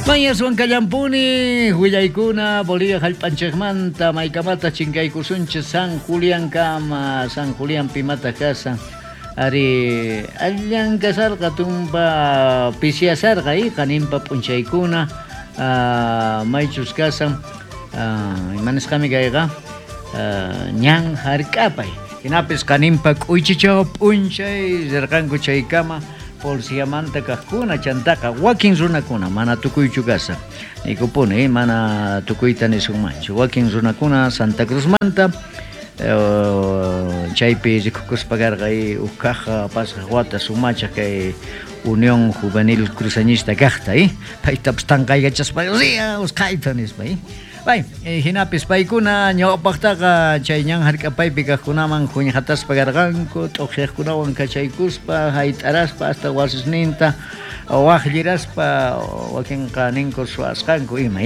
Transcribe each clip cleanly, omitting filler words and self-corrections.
Mañaswan kallampuni willaykuna Bolivia jallp'anchikmanta maykamata chinkaykusunchik San Juliankama San Julián pimata kasan ari allan kasarqa tumpa pisiyasarqa y qaninpa p'unchaykuna maychus kasan ima nisqami kayqa ñan jark'apay jinapis qaninpa k'uychichaw p'unchay rirqanku chaykama policiamanta kajkuna chantaqa wakin runakuna mana tukuychu kashan niykupuni mana tukuyta nisunmanchu wakin runakuna Santa Cruzmanta chaypi rikukuspa karqa uj kaj pasaj wata sumachaj kay Unión Juvenil Cruceñista kajta paytapis tanqaykachaspa ria usqhayta nispa. Bay, jinapis paykuna ñawpaqtaqa chay ñan hark'apaypi kaqkunaman juñjataspa karqanku, t'uqyaqkunawan kachaykuspa, hayt'araspa hasta wasisninta waqlliraspa wakinqa ninku suwasqanku ima.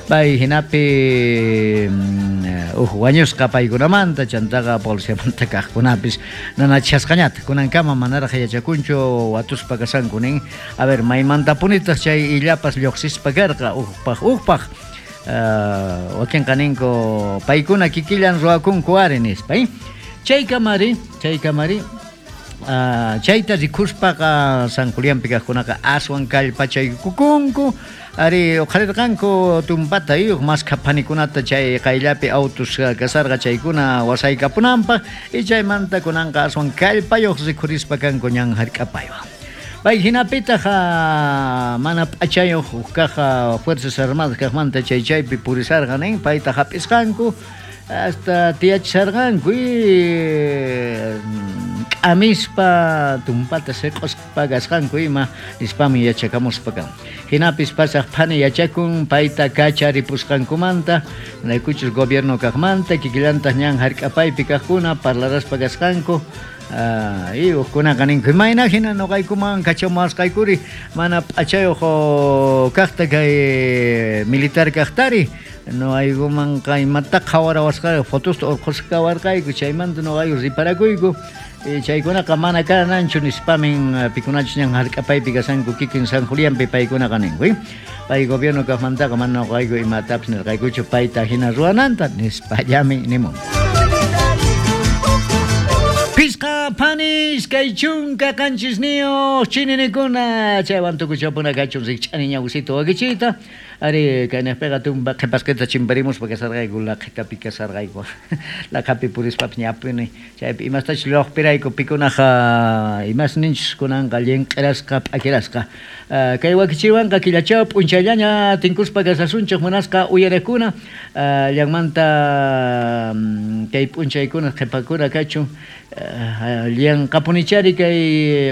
Bay, jinapi uj wañusqa paykunamanta chantaqa policiamanta kaqkunapis nanachasqañata kunankama manaraq yachakunchu watuspa kashanku nin. A ver, maymantapunitaq chay illapas lluqsispa karqa ujpaq ujpaq wakinqa ninku paykuna kikillan ruwakunku ari nispa. Chaykamari chayta rikuspaqa San Julianpi kaqkunaqa aswan kallpachaykukunku ari uqharirqanku tumpata uj maskha phanikunata chay qayllapi autos kasarqa chaykuna wasaykapunanpaq y chaymanta kunanqa aswan kallpayuq rikhurispa kanku ñan hark'apaywan. Pay hinapitaq mana p'achayuq uj kaq Fuerzas Armadas kaqmanta chay chaypi purisarqa nin payta hap'isqanku hasta tiyachisarqanku k'amispa tumpata siq'uspa kasqanku ima nispami yachakamuspa kan. Hinapis pasaq phani yachakun payta kacharipusqankumanta naykuchus gobierno kaqmanta kikillantaq ñan hark'apaypi kaqkuna parlaraspa kasqanku. Y ujkunaqa ninku imayna hina nuqaykuman kachamuwasqaykuri mana p'achayuq kaqta kay militar kaqtari nuqaykumanqa imata qhawarawasqayku fotosta urqhusqa kawarqayku chaymanta nuqayku riparakuyku chaykunaqa mana kananchu nispamin pikunachus ñan hark'apaypi kashanku kikin San Julianpi paykunaqa ninku. Pay gobierno kaqmantaqa mana nuqayku imatapis nirqaykuchu payta hina ruwananta nispallami nimun. Pisqa panis kay chunka qanchisniyuq chininikuna chaywan tukuchapuna kachun rikch'ani ñawsita wakichiyta ari kaynaqpiqa tumpa qhipasqita chimparimuspa kasarqayku laqhitapi kasarqayku laqhapi purispapis ñapuni chaypi imastachus lluqpirayku pikunaqa imasninchus kunanqa llinq'irasqa p'akirasqa kay wakichiywanqa killachaw p'unchayllaña tinkuspa kasasunchik munasqa uyariqkuna llanmanta kay p'unchaykuna qhipakuna kachun llanqapunichari kay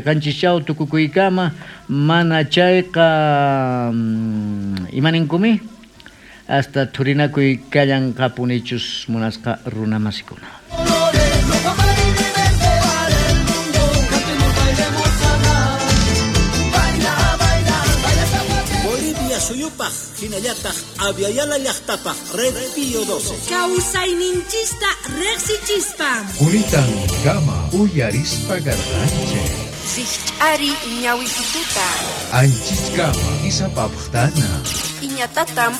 qanchischaw tukukuykama mana chayqa imaninkumi hasta thurinakuy kallanqapunichus munasqa runamasikuna. Bolivia suyupaj hinallataq Aviala llaqtapaj Red Pío 12. Kawsayninchista riqsichispa. Kunitan kama uyarispa garranche. Rikch'ari ñawisituta. Anchiskama isapapqtana. Iñatatam